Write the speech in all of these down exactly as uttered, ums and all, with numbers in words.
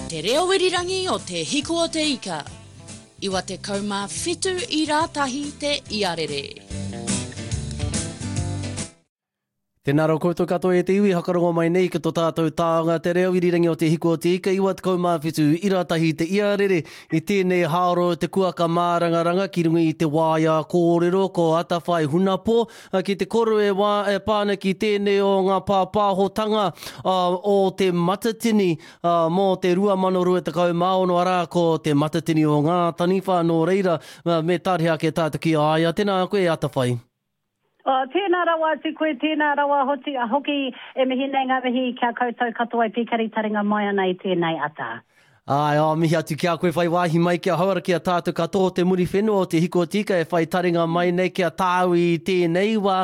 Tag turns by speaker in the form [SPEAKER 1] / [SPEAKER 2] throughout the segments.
[SPEAKER 1] Te reo irirangi o Te Hiku o Te Ika. Iwa te kaumā whitu i rātahi te iarere.
[SPEAKER 2] Tēnā rau koutou katoa e te iwi, hakarongo mai nei ki tō tātou tāonga te reo irirangi o Te Hiku o Te Ika, iwa tekau mā whitu i rātahi te iarere i tēnei hāro te kuaka mārangaranga ki runga i te waea kōrero ko Atawhai Hunapo ki te koru e wā e pā ana ki tēnei o ngā pāpāhotanga o Te Matatini mō te rua mano rua tekau mā ono arā ko Te Matatini o Ngā Taniwha nō reira me tārehe ake tātou ki a ia. Tēnā koe e Atawhai.
[SPEAKER 3] Oh, tēnā rawa atu koe, tēnā rawa hoti, hoki e mihi nei ngā mihi kia koutou katoa e pīkari taringa mai ana i tēnei ata.
[SPEAKER 2] Āe, oh, mihi atu ki a koe whai wāhi mai kia hauara ki a tātou katoa o te Muriwhenua o Te Hiku o Te Ika e whai taringa mai nei ki a tāu i tēnei wā.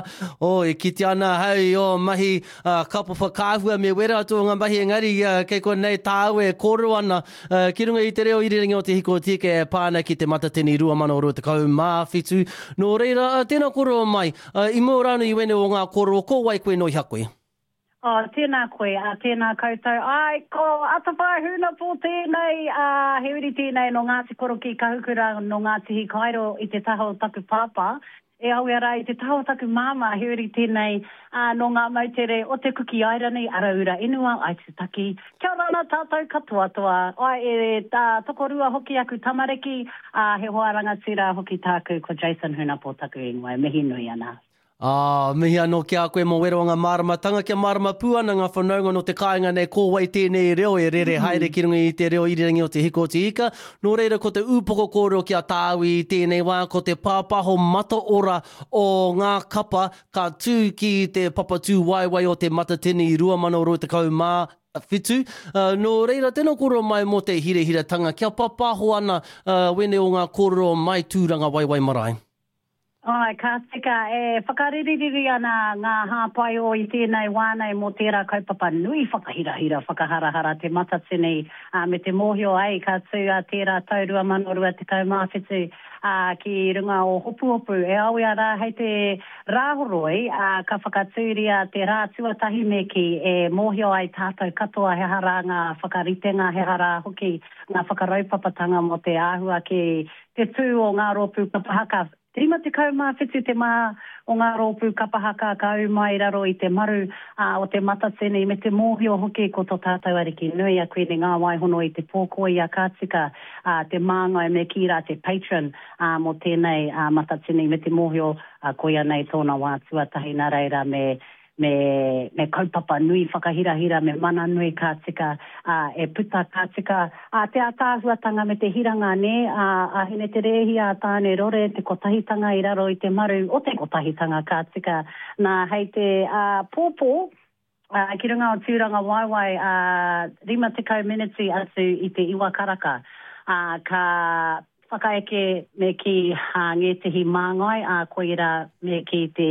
[SPEAKER 2] Oh, e kite ana ahau i ō mahi uh, kapo whakaahua me wera atu o ngā mahi engari uh, kei konei tāu e kōrero ana uh, ki runga i te reo irirangi o Te Hiku o Te Ika e pā ana ki te Matatini rua mano rua tekau mā whitu. Nō reira, uh, tēnā kōrero mai, uh, i mua rānō i wēnei o ngā kōrero, ko wai koe nō hea koe?
[SPEAKER 3] Oh, tēnā koe, ā, tēnā koutou. Ai, ko Atawhai Hunapo tēnei, ā, he uri tēnei nō Ngāti Korokī Kahukura, nō Ngāti Hikairo i te taha o taku pāpā. E awe ara i te taha o taku māmā, he uri tēnei, ā, nō ngā moutere o Te Kuki Airani, Araura Inua, Aitutaki. Kia ora ana tātou katoa toa. Ai, e, tā, tokorua hoki aku tamariki, ā, he hoa rangatira hoki tāku, ko Jason Hunapo taku ingoa, e mihi nui ana.
[SPEAKER 2] Ā, mihi anō ki a koe mō wera o ngā māramatanga, kia mārama pū ana ngā whanaunga nō te kāinga nei ko wai tēnei reo e rere haere ki runga i te reo irirangi o Te Hiku o Te Ika. Nō reira ko te ūpoko kōrero ki a tāu i tēnei wā ko te pāpāho mataora o ngā kapa ka tū ki te papatūwaewae o Te Matatini rua mano rua tekau mā whitu. Nō reira, tēnā kōrero mai mō te hirahiratanga kia pāpāho ana wēnei o ngā kōrero mai Tūrangawaewae marae.
[SPEAKER 3] Āe, ka tika, e whakariririri ana ngā hāpai o i tēnei wā nei mō tērā kaupapa nui whakahirahira, whakaharahara Te Matatini, ā, me te mōhio ai ka tū a tērā tau rua mano rua tekau mā whitu, ā, ki runga o Hopuhopu. E awe rā hei te Rāhoroi, ā, ka whakatūria te rā tuatahi me kī, e mōhio ai tātou katoa he aha rā ngā whakaritenga, he aha rā hoki ngā whakaraupapatanga mō te āhua ki te tū o ngā rōpū kapa haka. Rima tekau mā whitu te maha o ngā rōpū kapa haka ka ū mai i raro i te maru o Te Matatini me te mōhio hoki ko tō tātou Ariki nui a Kuini Ngāwaihono i te pō ko ia ka tika te māngai me kī rā te patron mō tēnei Matatini me te mōhio koia nei tōna wā tuatahi nā reira me me, me kaupapa nui whakahirahira, me mana nui ka tika, ā, e puta ka tika, ā, te ātaahuatanga me te hiranga, nē, ā, a Hine Te Rēhia, a Tāne Rore, te kotahitanga i raro i te maru o te kotahitanga ka tika. Nā, hei te, ā, pōpō, ā, ki runga o Tūrangawaewae, ā, rima tekau meneti atu i te iwa karaka, ā, ka whakaeke me kī ā, ngētehi māngai, ā, koirā me kī te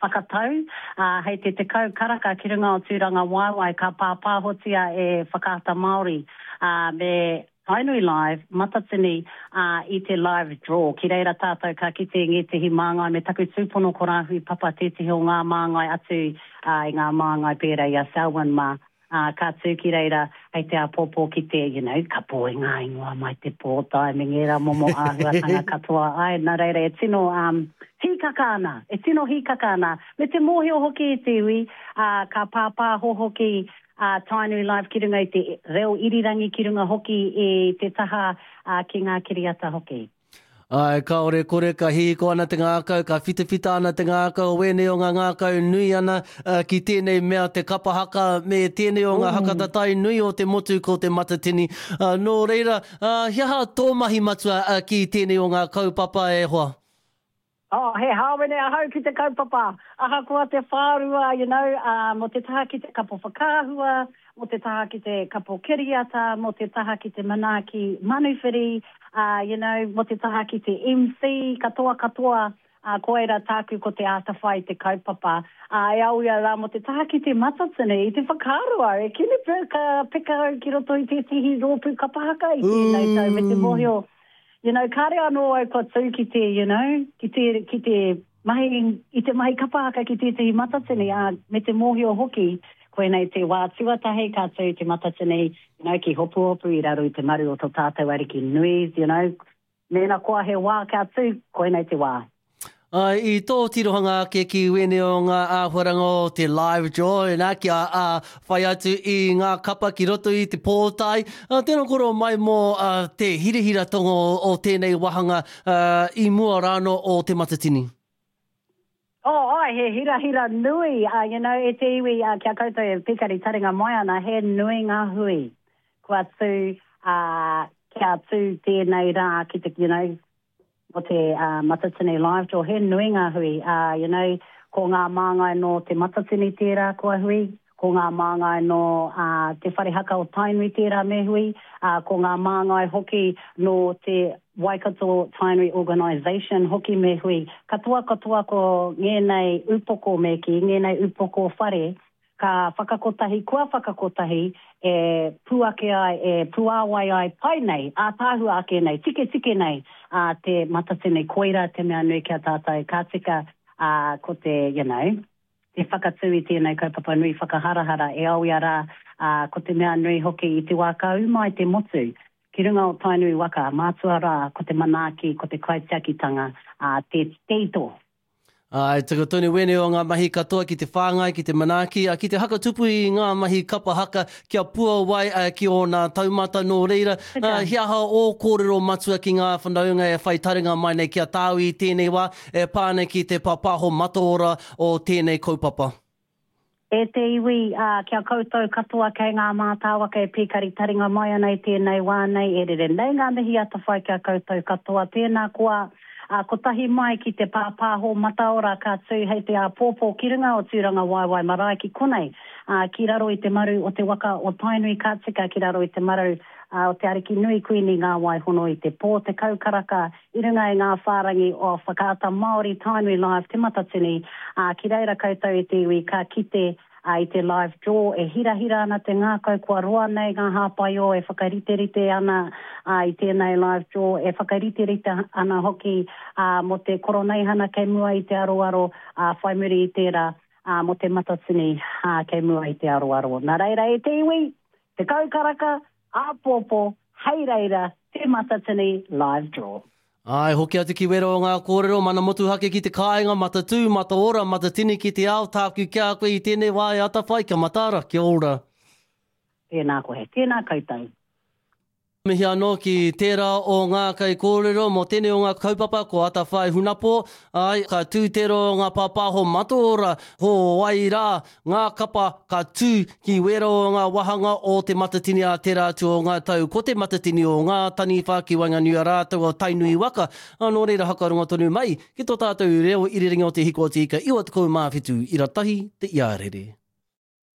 [SPEAKER 3] whakatau, ā, hei te tekau karaka ki runga o Tūrangawaewae ka pāpāhotia e Whakaata Māori, ā, me Tainui Live, Matatini, ā, i te live draw. Ki reira tātou ka kite ngētehi māngai me taku tūpono ko Rāhui Papa tētehi o ngā māngai atu, ā, i ngā māngai pērā i a Selwyn mā. Ā, ka tū ki reira hei te āpōpō ki te, you know, kapo i ngā ingoa mai te pōtae me ngērā momo āhuatanga katoa. Āe, nā reira e tino um, hīkaka ana, e tino hīkaka ana. Me te mōhio hoki i te iwi, ā, ka pāpāho hoki a Tainui Live ki runga i te reo irirangi, ki runga hoki i te taha ā, ki ngā kiriata hoki.
[SPEAKER 2] Āe, kāore kore, ka hihiko ana te ngākau, ka whitawhita ana te ngākau o wēnei o ngā ngākau nui ana ki tēnei mea te kapa haka me tēnei o ngā haka tatai nui o te motu ko Te Matatini. Nō reira, he aha tō mahi matua ki tēnei o ngā kaupapa e hoa?
[SPEAKER 3] Oh, he hāwene ahau ki te kaupapa, ahakoa te whārua, you know, uh, mō te taha ki te kapo whakaahua, mō te taha ki te kapo kiriata, mō te taha ki te manaaki manuwhiri, uh, you know, mō te taha ki te M C, katoa katoa, uh, koira tāku ko te ātawhai te kaupapa. Uh, e au ia rā mō te taha ki te Matatini, i te whakaaro au, e kini pea ka peka au ki roto i tētehi rōpū kapa haka i tēnei tau me te mōhio. You know, kāre anō au kua tū ki te, you know, ki te, ki te mahi, i te mahi kapa haka ki tētehi Matatini, ā, me te mōhio hoki, Koinei te wā tuatahi ka tū Te Matatini, you know, ki Hopuhopu i raro i te maru o tō tātou Ariki nui, you know, mēnā koa he wā kia tū, koinei te wā.
[SPEAKER 2] Ai, i tō tirohanga ake ki wēnei o ngā āhuaranga o te live draw, nā, kia ā, whai atu i ngā kapa ki roto i te pōtae. Uh, tēnā koro mai mō uh, te hirahiratanga o, o tēnei wāhanga uh, i mua rāno o Te Matatini.
[SPEAKER 3] Oh, ai, he hirahira nui, uh, you know, e te iwi, uh, kia koutou e pikari taringa mai ana, he nui ngā hui. Kua tū, uh, kia tū tēnei rā ki te, you know, o te uh, Matatini Live Draw, he nui ngā hui. Uh, you know, ko ngā māngai no te Matatini tērā kua hui, ko ngā māngai no uh, te Whare Haka o Tainui tērā me hui, uh, ko ngā māngai hoki no te Waikato Tainui Organisation hoki me hui. Katoa katoa ko ngēnei upoko me ki, ngēnei upoko whare, ka whakakotahi, kua whakakotahi, e puake ai, e puāwai ai pai nei, ātaahua ake nei, tike tike nei, a te Matatini koira te mea nui kia tātou ka tika, a, ko te, you know, te whakatū i tēnei kaupapa nui whakaharahara e aoia rā, a, ko te mea nui hoki i te wā ka ū mai te motu, ki runga o Tainui waka, mātua rā, ko te manaaki, ko te kaitiakitanga, a, te teito.
[SPEAKER 2] Ai, tika tonu wēnei o ngā mahi katoa ki te whāngai, ki te manaaki, a, ki te hakatupu i ngā mahi kapa haka kia puawai a, ki ōna taumata nō reira. A, he aha ō kōrero matua ki ngā whanaunga e whai taringa mai nei ki a tāu i tēnei wā e pā nei ki te pāpāho mataora o tēnei kaupapa?
[SPEAKER 3] E te iwi, uh, kia koutou katoa kei ngā mātāwaka e pīkari taringa mai ana i tēnei wā nei, e rere nei ngā mihi atawhai kia koutou katoa. Tēnā koa, uh, kotahi mai ki te pāpāho mataora ka tū hei te āpōpō ki runga o Tūranga Waewae Marae ki konei, uh, ki raro i te maru o te waka o Tainui ka tika ki raro i te maru uh, o te Ariki Nui Kuini Ngā Waihono i te pō te kaukaraka i runga i ngā whārangi o Whakaata Māori Tainui Live Te Matatini, uh, ki reira koutou e te iwi ka kite uh, i te live draw e hirahira ana te ngākau kua roa nei ngā hāpaio e whakariterite ana uh, i tēnei live draw e whakariterite ana hoki uh, mō te koroneihana kei mua i te aroaro uh, whai muri i tērā uh, mō te Matatini uh, kei mua i te aroaro. Nā reira e te iwi, te kaukaraka, āpōpō, hei reira, te Matatini live draw.
[SPEAKER 2] Ai, hoki atu ki wera o ngā kōrero, mana motuhake ki te kāinga, matatū, mataora, matatini ki te ao, tāku kia koe i tēnei wā e atawhai, kia mataara, kia ora.
[SPEAKER 3] Tēnā koe, tēnā koutou.
[SPEAKER 2] Mihi anō ki tērā o ngā kai kōrero mō tēnei o ngā kaupapa ko Atawhai Hunapo, ai, ka tū tērā o ngā pāpāho mataora, ko wai rā, ngā kapa ka tū ki wera o ngā wahanga o te Matatini a tērā atu o ngā tau. Ko te Matatini o ngā taniwha ki waenganui a rātou o Tainui waka, nō reira hakarongo tonu mai ki tō tātou reo irirangi o te Hiko o te Ika iwa tekau mā whitu ira tahi te iarere.